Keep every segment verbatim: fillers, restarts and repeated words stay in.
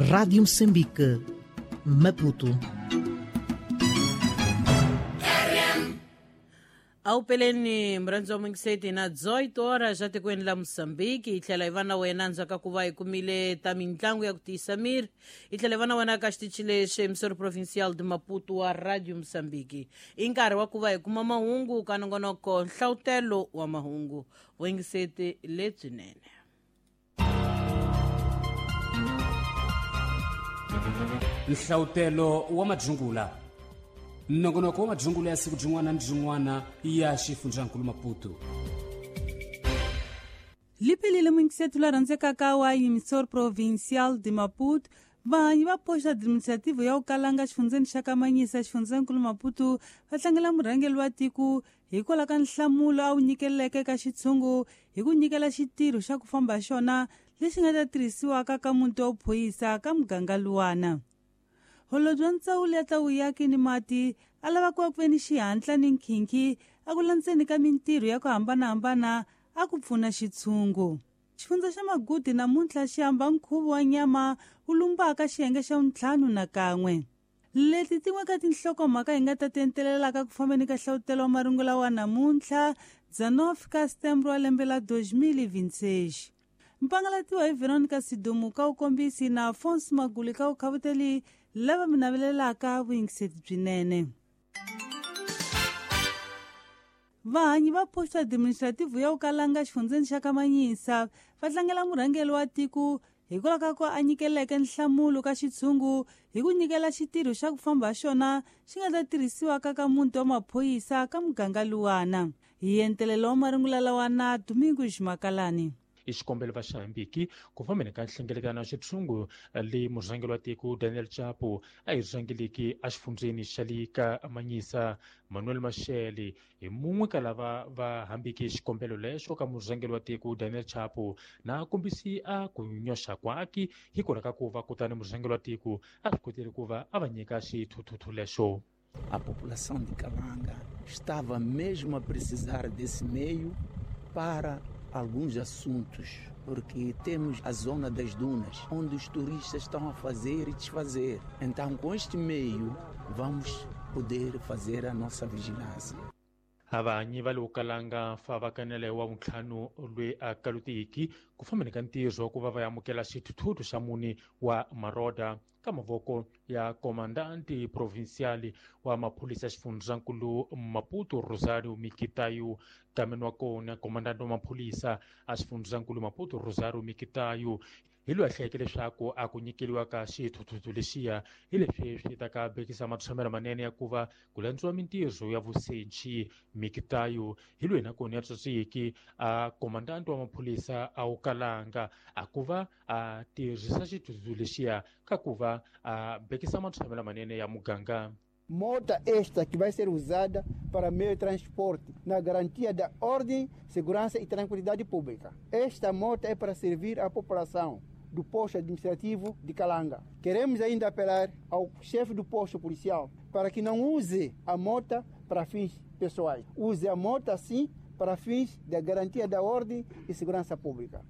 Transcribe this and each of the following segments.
Rádio Moçambique, Maputo. Awupeleni mrhandzo mingiseti na dezoito horas já tikweni la Moçambique hi tlhela hi va na wena ndzhaku ka ku va hi kumile ta mitlangu ya ku tiyisa miri hi tlhela hi va na wena ka xitichi lexi emissora provincial de Maputo wa Radio Moçambique i nkarhi wa ku va hi kuma mahungu ka nongonoko nhlawutelo wa mahungu vuyingiseti lebyinene. Nhlawutelo wa madzungula nongonoko wa madzungula ya siku byin'wana ni byin'wana ya xifundzankulu Maputo. Liphelile muyingisethu la rhandzekaka wa emissora provincial de Maputo vanhu va posto administrativo ya Ukalanga xifundzeni xa Kamanyisa xifundzankulu Maputo va tlangela murhangeri wa tiko hikwalaho ka nhlamulo a wu nyikeleke ka xitshungu hi ku nyikela xitirho xa ku famba xona lexi nga ta tirhisiwaka ka muti wa vuphorisa ka muganga luwana. Holobye wa ndzawulo ya ta vuyaki ni mati a lava ku va ku ve ni xihatla ni nkhinkhi a ku landzeni ka mintirho ya ku hambanahambana a ku pfuna xitshungu. Xifundza xa Magudi namuntlha xi hamba nkhuvo wa nyama wu lumbaka xiyenge xa vuntlhanu na kan'we. Leti tin'we ka tinhlokomhaka hi nga ta ti entelelaka ku fambeni ka nhlawutelo wa marungula wa namuntlha dezenove ka setembro wa lembe la dois mil e vinte e seis. Mpangalatiwa hi Veronica Sidumu ka wukombisi na Afonso Maguli ka wukhavuteli lava mi navelelaka vuyingiseti byinene. Vahanyi va posto administrativo ya Ukalanga xifundzeni xa Kamanyisa va tlangela murhangeri wa tiko hikwalaho ka ku a nyikeleke nhlamulo ka xitshungu hi ku nyikela xitirho xa ku famba xona xi nga ta tirhisiwaka ka muti wa maphorisa ka muganga luwana. Hi entelelo wa marungula lawa na Domingos Makalani. I xikombelo va xihambiki ku fambeni ka nhlengeletano ya xitshungu leyi murhangeri wa tiko Daniel Chapo a yi rhangeleki exifundzeni xa le ka Manyisa. Manuel Mashele hi mun'we ka lava va hambiki xikombelo lexo ka murhangeri wa tiko Daniel Chapo na kombisi a ku nyoxa kwaki hikwalaho ka ku va kutani murhangeri wa tiko a swi kotile ku va a va nyika xithuthuthu lexo. A população de Kalanga estava mesmo a precisar desse meio para alguns assuntos, porque temos a zona das dunas, onde os turistas estão a fazer e desfazer. Então, com este meio, vamos poder fazer a nossa vigilância. Avanyi va le Ukalanga fa va kanele wa vuntlhanu lwe a kalutiki ku fambeni ka ntirho ku va va amukela xithuthuthu xa mune wa maroda ka mavoko ya komandanti provincial wa maphorisa xifundzankulu Maputo Rosario Mikitayo. Kameni wa kona komandanti wa maphorisa a xifundzankulu Maputo Rosario Mikitayo hi loyi a hlayeke leswaku a ku nyikeliwa ka xithuthuthu lexiya hi leswi swi ta ka bekisa matshamelo manene ya ku va ku landziwa mintirho ya vusenchi. Mikitayo hi loyi nakona ya tswitswiki a komandanti wa maphorisa a Ukalanga a ku va a tirhisa xithuthuthu lexiya ka ku va a bekisa matshamelo manene ya muganga. Mota esta que vai ser usada para meio de transporte, na garantia da ordem, segurança e tranquilidade pública. Esta moto é para servir à população do posto administrativo de Kalanga. Queremos ainda apelar ao chefe do posto policial para que não use a moto para fins pessoais. Use a moto, sim, para fins da garantia da ordem e segurança pública.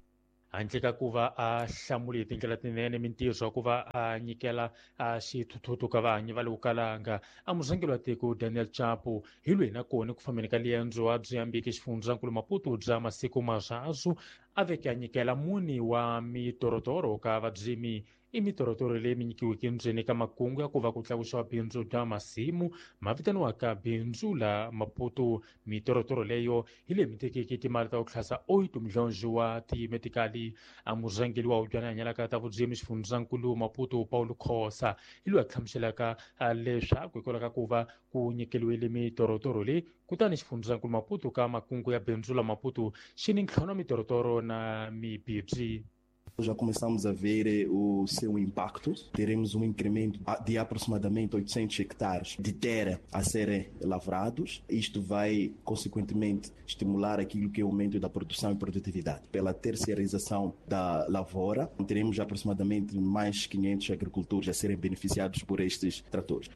Handle ka ku va a hlamule hi tindlela tinene mintirho ya ku va a nyikela a xithuthuthu ka vahanyi va le Ukalanga a murhangeri wa tiko Daniel Chapo hi loyi nakona ku fambeni ka liendzo a byi hambiki xifundzankulu Maputo bya masiku marhazu a veke a nyikela mune wa mitorotoro ka vabyimi. I mitorotoro leyi mi nyikiweke ndzeni ka makungu ya ku va ku tlakusiwa bindzu bya masimu ma vitaniwaka bindzu la Maputo. Mitorotoro leyo hi leyi mi tekeke timali ta ku tlhasa oito milhões wa timetikali. A murhangeri wa hubyana hanyalaka ta vubyimi xifundzankulu Maputo Paulo Khosa hi loyi a hlamuselaka leswaku hikwalaho ka ku va ku nyikeliwile mitorotoro leyi kutani xifundzankulu Maputo ka makungu ya bindzu la Maputo xi ni ntlhanu wa mitorotoro na mibibyi. Já começamos a ver o seu impacto. Teremos um incremento de aproximadamente oitocentos hectares de terra a serem lavrados. Isto vai, consequentemente, estimular aquilo que é o aumento da produção e produtividade. Pela terceirização da lavoura, teremos aproximadamente mais quinhentos agricultores a serem beneficiados por estes tratores.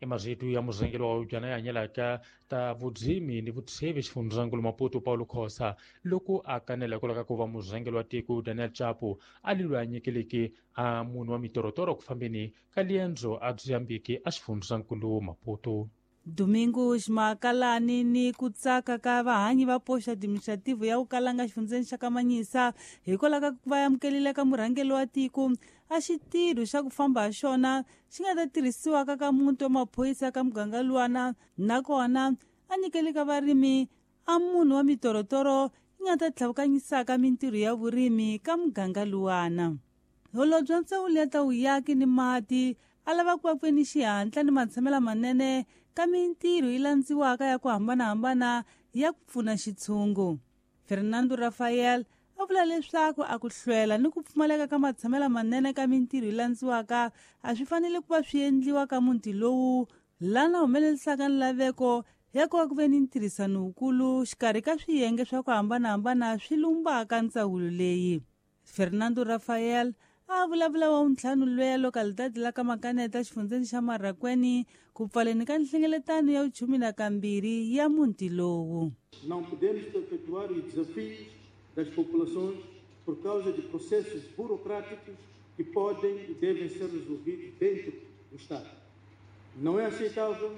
I marito ya murhangeri wa hubyana ya hanyelaka ta vudzimi ni vutsheve xifundzankulu Maputo Paulo Khosa loko a kanela hikwalaho ka ku va murhangeri wa tiko Daniel Chapo a li loyi a nyikeleke a munhu wa mitorotoro ku fambeni ka liendzo a Mozambique a xifundzankulu Maputo. Domingo Ximakalani ni ku tsaka ka vahanyi va poxa administrativo ya Ukalanga xifundzeni xa Kamanyisa hikwalaho ka ku va amukelile ka murhangeri wa tiko a xitirho xa ku famba ha xona xi nga ta tirhisiwaka ka muti wa maphorisa ka muganga luwana nakona a nyikele ka varimi a munhu wa mitorotoro yi nga ta tlhavukanyisaka mintirho ya vurimi ka muganga luwana. Holobye wa ndzawulo ya ta vuyaki ni mati a lava ku va ku ve ni xihatla ni matshamelo manene ka mintirho yi landziwaka ya ku hambanahambana ya ku pfuna xitshungu. Fernando Rafael a vula leswaku a ku hlwela ni ku pfumaleka ka matshamelo manene ka mintirho yi landziwaka a swi fanele ku va swi endliwa ka muti lowu lana humelelisaka nlaveko ya ku va ku ve ni ntirhisano wukulu xikarhi ka swiyenge swa ku hambanahambana swi lumbaka ndzawulo leyi. Fernando Rafael a vulavula wa ntlhanu lweya localidade la ka Makaneta xifundzeni xa Marracuene ku pfaleni ka nhlengeletano ya vuchumi na kambirhi ya muti lowu. Não podemos perpetuar os desafios das populações por causa de processos burocráticos que podem e devem ser resolvidos dentro do Estado. Não é aceitável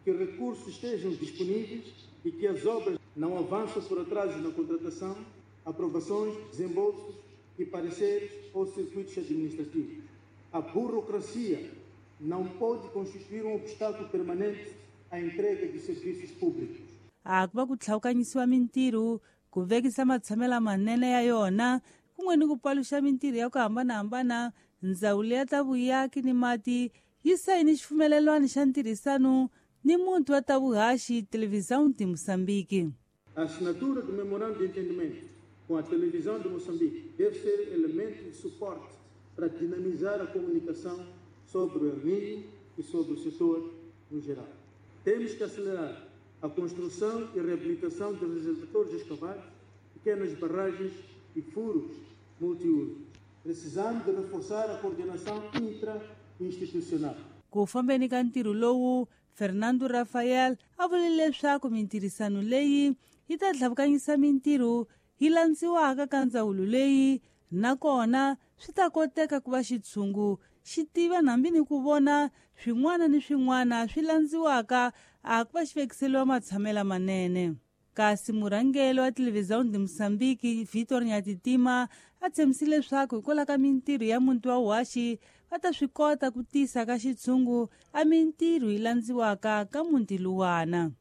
que recursos estejam disponíveis e que as obras não avançam por atrasos na contratação, aprovações, desembolsos e pareceres ou circuitos administrativos. A burocracia não pode constituir um obstáculo permanente à entrega de serviços públicos. A ku va ku tlhawukanyisiwa mintirho, ku vekisa matshamelo manene ya yona, kun'we ni ku paluxa mintirho ya ku hambanahambana, ndzawulo ya ta vuyaki ni mati yi sayini xifumelelwano xa ntirhisano ni muti wa ta vuhaxi Televisão de Moçambique. A assinatura do memorando de entendimento com a Televisão de Moçambique deve ser elemento de suporte para dinamizar a comunicação sobre o El Niño e sobre o setor no geral. Temos que acelerar a construção e reabilitação de reservatórios escavados, pequenas barragens e furos multiusos. Precisamos de reforçar a coordenação intra-institucional. Ku fambeni ka ntirho lowu, Fernando Rafael a vule leswaku mintirhisano leyi yi ta tlhavukanyisa mintirho yi landziwaka ka ndzawulo leyi nakona swi ta koteka ku va xitshungu xi tiva hambi ni ku vona swin'wana ni swin'wana swi landziwaka a ku va xi vekiseliwa matshamelo manene. Kasi murhangeri wa Televisão de Moçambique Vitor Nyatitima a tshembisile leswaku hikwalaho ka mintirho ya muti wa Uhaxi va ta swi kota ku tisa ka xitshungu a mintirho yi landziwaka ka muti luwana.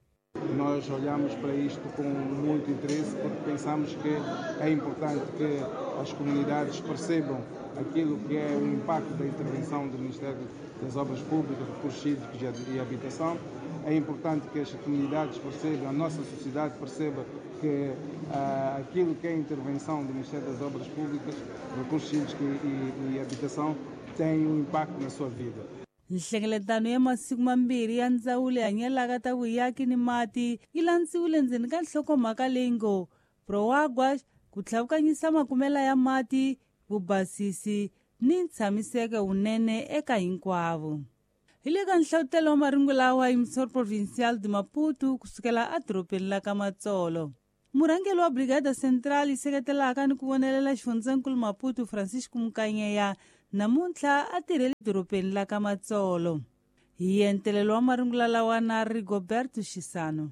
Nós olhamos para isto com muito interesse porque pensamos que é importante que as comunidades percebam aquilo que é o impacto da intervenção do Ministério das Obras Públicas, Recursos Hídricos e Habitação. É importante que as comunidades percebam, a nossa sociedade perceba que uh, aquilo que é a intervenção do Ministério das Obras Públicas, Recursos Hídricos e, e, e Habitação tem um impacto na sua vida. Nhlengeletano ya masiku mambirhi ya ndzawulo ya hanyelaka ta vuyaki ni mati yi landziwile ndzeni ka nhlokomhaka leyi ngo Proáguas, ku tlhavukanyisa makumela ya mati, vubasisi ni ntshamiseko wunene eka hinkwavo. Hi le ka nhlavutelo wa marungu lawa hi Emissor Provincial de Maputo kusukela edorobeni la ka Matsolo. Murhangeri wa Brigada Central yi seketelaka ni ku vonelela xifundzankulu Maputo Francisco Mukanyeya namuntlha a tirhele dorobeni la ka Matsolo. Hi entelelo wa marungula lawa na Rigoberto Xisano.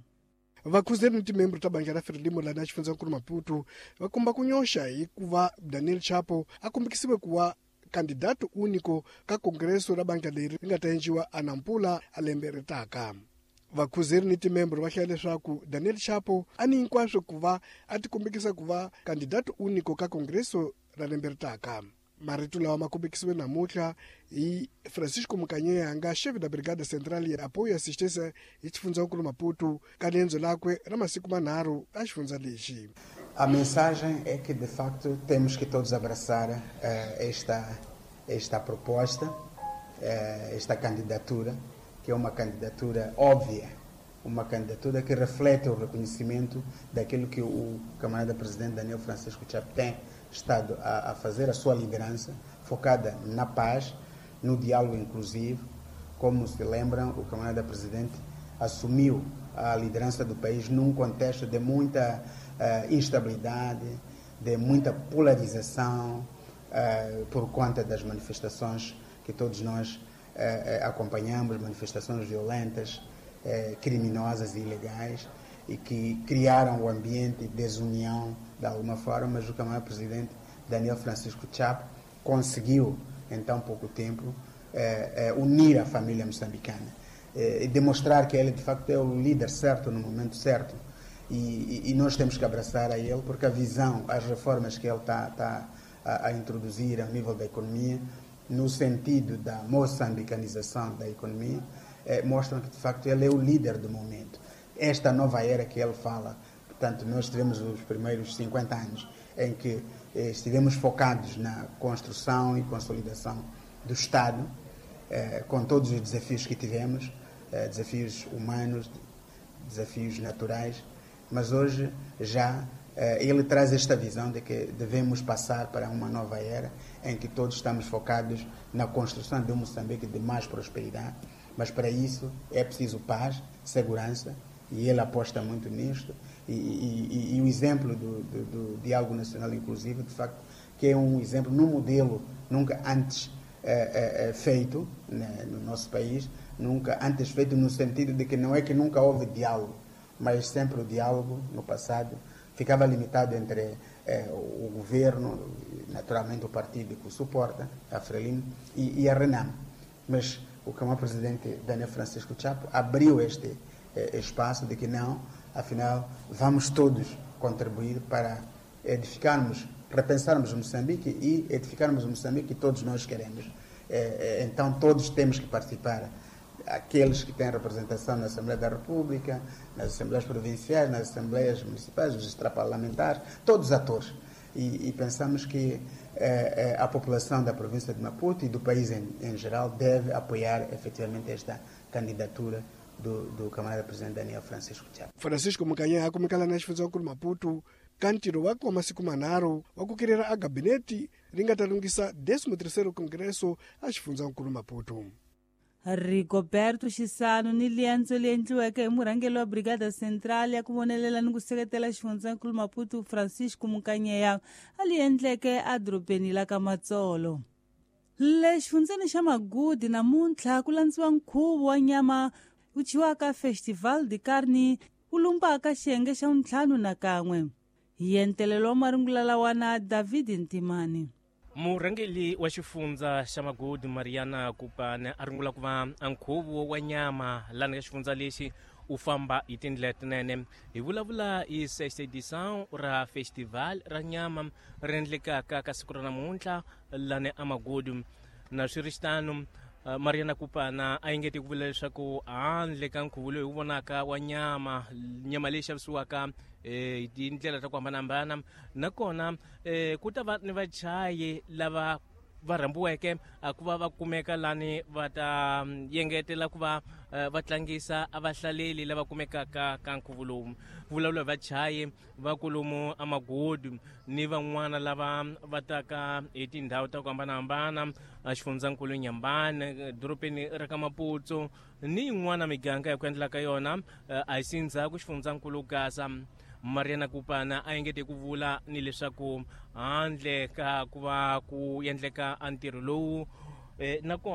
Vakhuzeri ni timembro ta bandla ra Frelimo lana xifundzankulu Maputo va komba ku nyoxa hikuva Daniel Chapo a kombekisiwe ku va candidato único ka kongreso ra bandla leri ri nga ta endliwa a Nampula a lembe ri taka. Vakhuzeri ni timembro va hlaya leswaku Daniel Chapo a ni hinkwaswo ku va a tikombekisa ku va candidato único ka kongreso ra lembe ri taka. Marito lawa ma kombekisiwe namuntlha hi Francisco Mukanyeya nga chefe da Brigada Central ya Apoio e Assistência hi xifundzankulu Maputo ka riendzo lakwe ra masiku manharhu a xifundza lexi. A mensagem é que de facto temos que todos abraçar uh, esta esta proposta, uh, esta candidatura, que é uma candidatura óbvia, uma candidatura que reflete o reconhecimento daquilo que o camarada presidente Daniel Francisco Chapo tem estado a, a fazer, a sua liderança focada na paz, no diálogo inclusivo, Como se lembram, o camarada presidente assumiu a liderança do país num contexto de muita uh, instabilidade, de muita polarização, uh, por conta das manifestações que todos nós uh, acompanhamos, manifestações violentas, uh, criminosas e ilegais, e que criaram o ambiente de desunião de alguma forma, mas o camarada presidente Daniel Francisco Chapo conseguiu, em tão pouco tempo, eh, eh, unir a família moçambicana eh, e demonstrar que ele, de facto, é o líder certo no momento certo. E, e, e nós temos que abraçar a ele, porque a visão, as reformas que ele está tá a, a introduzir ao nível da economia, no sentido da moçambicanização da economia, eh, mostram que, de facto, ele é o líder do momento. Esta nova era que ele fala, portanto, nós tivemos os primeiros cinquenta anos em que eh, estivemos focados na construção e consolidação do Estado, eh, com todos os desafios que tivemos, eh, desafios humanos, desafios naturais, mas hoje já eh, ele traz esta visão de que devemos passar para uma nova era em que todos estamos focados na construção de um Moçambique de mais prosperidade, mas para isso é preciso paz, segurança, e ele aposta muito nisto, e, e, e, e o exemplo do, do, do Diálogo Nacional Inclusivo, de facto, que é um exemplo num modelo nunca antes é, é, feito, né, no nosso país, nunca antes feito no sentido de que não é que nunca houve diálogo, mas sempre o diálogo, no passado, ficava limitado entre é, o governo, naturalmente o partido que o suporta, a Frelimo, e, e a Renamo. Mas o camarada presidente Daniel Francisco Chapo abriu este espaço de que não, afinal, vamos todos contribuir para edificarmos, repensarmos Moçambique e edificarmos o Moçambique que todos nós queremos. Então, todos temos que participar. Aqueles que têm representação na Assembleia da República, nas Assembleias Provinciais, nas Assembleias Municipais, os extraparlamentares, todos os atores. E, e pensamos que eh, a população da província de Maputo e do país em, em geral deve apoiar efetivamente esta candidatura do, do camarada presidente Daniel Francisco Chapo. Francisco Mukanyeya akumikala na xifundzankulu Maputo ka ntirho wakwe wa masiku manharhu wa ku kirira a gabinete ri nga ta lunghisa décimo terceiro Congresso a xifundzankulu Maputo. Rigoberto Xisano ni liendzo leyi endliweke hi murhangeri wa Brigada Central ya ku vonelela ni ku seketela xifundzankulu Maputo Francisco Mukanyeya a li endleke edorobeni la ka Matsolo. Le xifundzeni xa Magudi namuntlha ku landziwa nkhuvo wa nyama wu thyiwaka Festival de Carne wu lumbaka xiyenge xa ntlhanu na kan'we. Hi entelelo wa marungula lawa na David Ntimani. Murhangeri wa xifundza xa Magudi Mariana Kupane a rungula ku va nkhuvo wa nyama lani ka xifundza lexi u famba hi tindlela tinene. Hi vulavula hi sexta edition ra festival ra nyama ri endlekaka ka siku ra namuntlha lani a Magudi. Na swi ri xitano, Mariana Kupana a engete ku vula leswaku handle ka nkhuvo lowu hi wu vonaka wa nyama, nyama leyi xavisiwaka hi tindlela ta ku hambanahambana, nakona ku ta va ni vachayi lava va rhambiweke ku va va kumeka lani va ta yengetela ku va va tlangisa a vahlaleli lava kumekaka ka nkhuvo lowu. Vulavula hi vachayi va kolomu a Magodi ni van'wana lava va taka hi tindhawu ta ku hambanahambana, xifundzankulu Nyambane, dorobeni ra ka Maputo ni yin'wana miganga ya ku endla ka yona a hi sindzhaku xifundzankulu Gaza. Mariana Kupana a engete ku vula ni leswaku handle ka ku va ku endleka a ntirho lowu nakona